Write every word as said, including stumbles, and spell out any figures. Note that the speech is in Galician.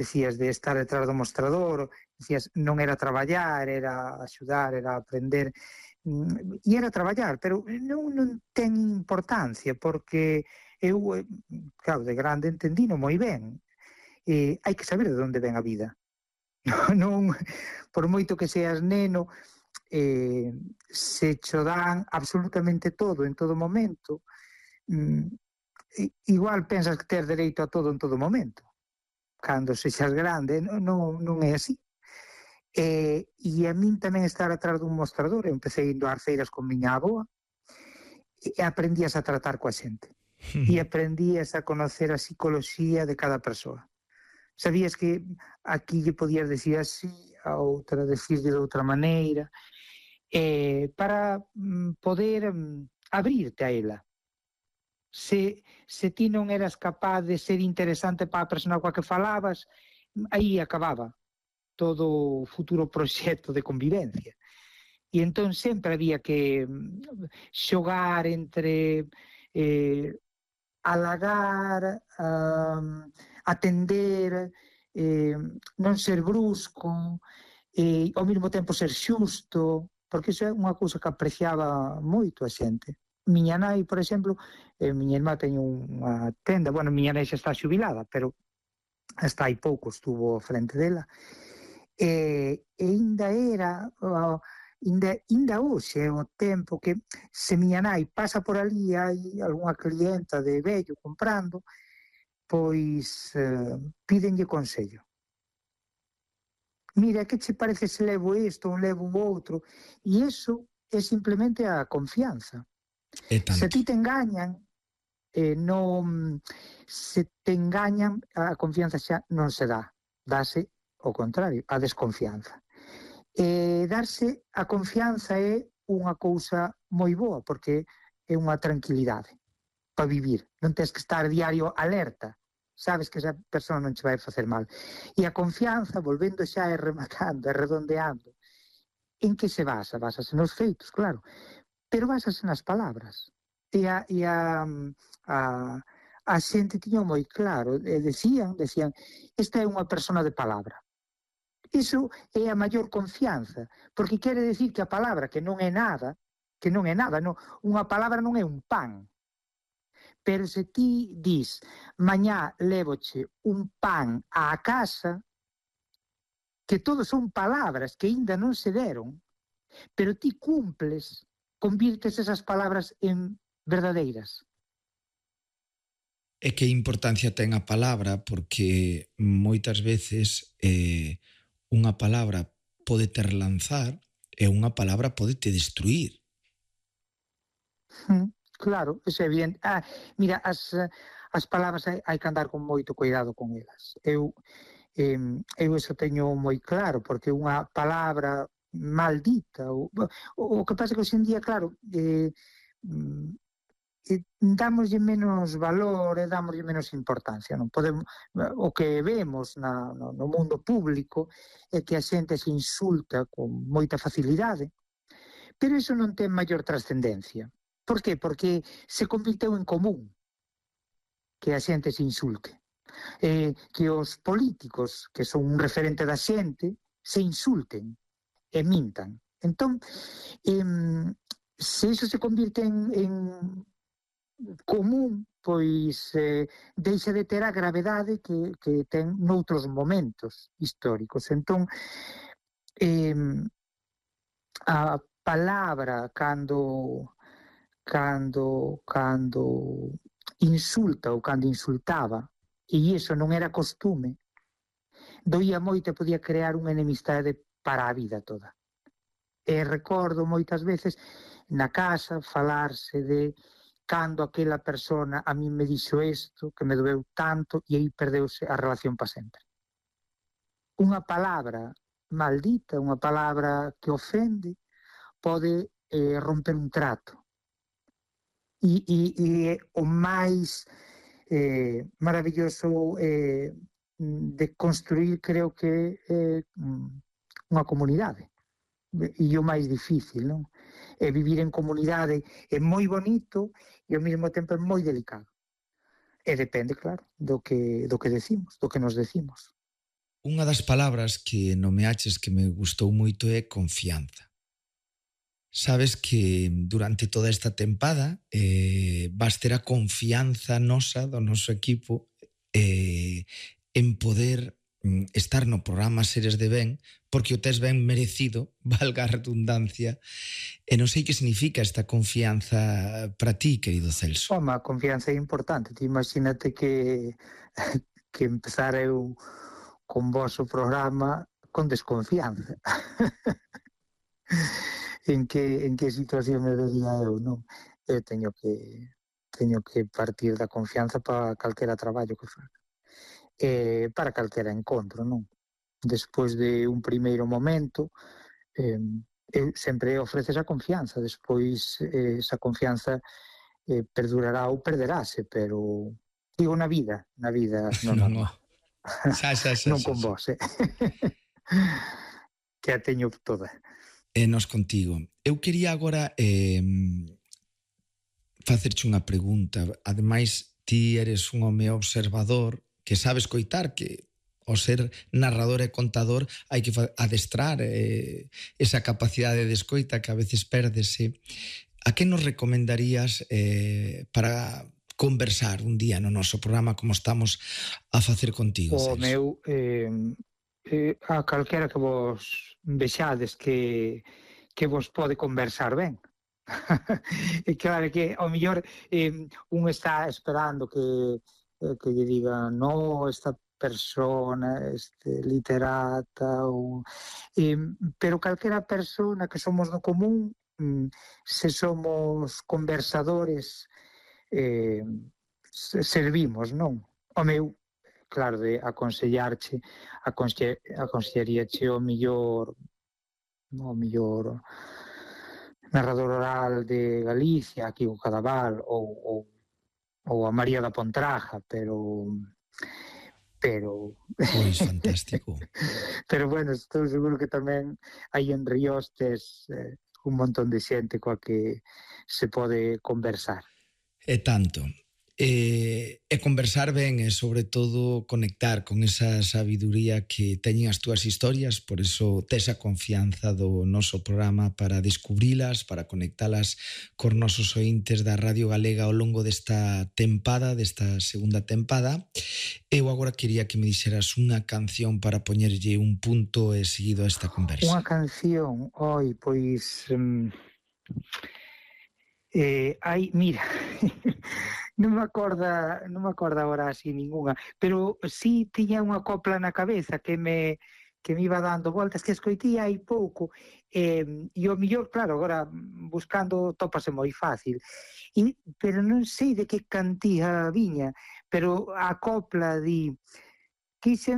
decías de estar detrás do mostrador, decías non era traballar, era axudar, era aprender, mm, e era traballar, pero non, non ten importancia, porque eu, eh, claro, de grande entendino moi ben, eh, hai que saber de onde ven a vida. Non, por moito que seas neno, eh, se cho dan absolutamente todo en todo momento, mm, igual pensas que tes dereito a todo en todo momento. Cando sexas grande, non, non é así. E, e a min tamén estar atrás dun mostrador, eu empecé indo ás feiras con miña avoa, e aprendías a tratar coa xente. E aprendías a conocer a psicoloxía de cada persoa. Sabías que aquí lle podías decir así, a outra decirlle de outra maneira, eh, para mm, poder mm, abrirte a ela. Se, se ti non eras capaz de ser interesante para a persona coa que falabas, aí acababa todo o futuro proxecto de convivencia. E entón sempre había que xogar entre eh, halagar, um, atender, eh, non ser brusco, e ao mesmo tempo ser xusto, porque iso é unha cousa que apreciaba moito a xente. Miña nai, por exemplo, eh, miña irmá teño unha tenda, bueno, miña nai xa está xubilada, pero hasta hai pouco estuvo frente dela, e, e ainda era, uh, ainda, ainda hoxe é o tempo que se miña nai pasa por ali, hai algunha clienta de vello comprando, pois uh, pídenlle consello. Mira, que che parece se levo isto ou levo o outro? E iso é simplemente a confianza. Se ti te engañan, eh, non, se te engañan, a confianza xa non se dá, dáse ao contrario, a desconfianza. E darse a confianza é unha cousa moi boa, porque é unha tranquilidade para vivir. Non tens que estar diario alerta, sabes que esa persona non che vai facer mal. E a confianza, volvendo xa e rematando e redondeando, en que se basa? Básase nos feitos, claro, pero básase nas palabras. E a, e a, a, a xente tiña moi claro, e decían, decían, esta é unha persona de palabra. Iso é a maior confianza, porque quere decir que a palabra, que non é nada, que non é nada, non, unha palabra non é un pan, pero se ti dis, mañá lévoche un pan á casa, que todos son palabras que aínda non se deron, pero ti cumples, convirtes esas palabras en verdadeiras. E que importancia ten a palabra, porque moitas veces eh, unha palabra pode te relanzar e unha palabra pode te destruir. Mm, claro, é evidente. Ah, mira, as, as palabras hai, hai que andar con moito cuidado con elas. Eu, eh, eu eso teño moi claro, porque unha palabra maldita, o, o, o que pasa que hoxe en día, claro, eh, eh, damoslle menos valor e damoslle menos importancia, non podemos, o que vemos na, no, no mundo público é que a xente se insulta con moita facilidade, pero iso non ten maior trascendencia. Por qué? Porque se convirteu en común que a xente se insulte, eh, que os políticos, que son un referente da xente, se insulten e mintan. Entón, eh, se iso se convirte en, en común, pois eh, deixa de ter a gravedade que, que ten noutros momentos históricos. Entón, eh, a palabra cando cando cando insulta ou cando insultaba, e iso non era costume, doía moito e podía crear unha enemistade para a vida toda. E recordo moitas veces na casa falarse de cando aquela persona a mí me dixo isto, que me doeu tanto, e aí perdeuse a relación para sempre. Unha palabra maldita, unha palabra que ofende, pode eh, romper un trato. E, e, e o máis eh, maravilloso eh, de construir, creo que é eh, unha comunidade. E o máis difícil, non? E vivir en comunidade é moi bonito e ao mesmo tempo é moi delicado. E depende, claro, do que, do que decimos, do que nos decimos. Unha das palabras que nomeaches que me gustou moito é confianza. Sabes que durante toda esta tempada eh, vas ter a confianza nosa, do noso equipo, eh, en poder mm, estar no programa Seres de Ben, porque o tes ben merecido, valga a redundancia, e non sei que significa esta confianza para ti, querido Celso. Home, a confianza é importante. Ti imagínate que que empezar eu con vos o programa con desconfianza. en que en que situación me vería eu, non? Eu teño que teño que partir da confianza para calquera traballo que faga. Eh, para calquera encontro, non? Despois de un primeiro momento, eh, eu sempre ofreces a confianza, despois eh, esa confianza eh, perdurará ou perderase, pero digo na vida, na vida no Non, oh. normal. Xa, xa, xa, Non xa, con xa. vos, eh? que a teño toda. E nos contigo. Eu quería agora eh, facerche unha pregunta. Ademais, ti eres un home observador que sabe escoitar, que ao ser narrador e contador hai que adestrar eh, esa capacidade de escoita que a veces pérdese. A que nos recomendarías eh, para conversar un día no noso programa como estamos a facer contigo, O Celso? meu, eh, eh, a calquera que vos vexades que, que vos pode conversar ben. E claro que ao mellor eh, un está esperando que, eh, que lle diga no, esta persona, este literata, ou, eh, pero calquera persona que somos no común, mm, se somos conversadores, eh, servimos, non? O meu, claro, de aconsellarche, aconse, aconsellaríache o millor, o millor narrador oral de Galicia, aquí o Cadaval, ou, ou, ou a María da Pontraja, pero pero Pois fantástico. pero bueno, estou seguro que tamén hai en Riostes eh, un montón de xente coa que se pode conversar. E tanto. E, e conversar ben e sobre todo conectar con esa sabiduría que teñen as túas historias, por eso tes a confianza do noso programa para descubrilas, para conectalas cos nosos ointes da Radio Galega ao longo desta tempada, desta segunda tempada. Eu agora quería que me dixeras unha canción para poñerlle un punto e seguido a esta conversa. Unha canción, oi, pois... Um, eh, hai, mira... non me acorda, non me acorda agora así ningunha, pero sí tiña unha copla na cabeza que me que me iba dando voltas, que escoití hai pouco, eh, e o mellor, claro, agora buscando topase moi fácil, e, pero non sei de que cantía viña, pero a copla di quixen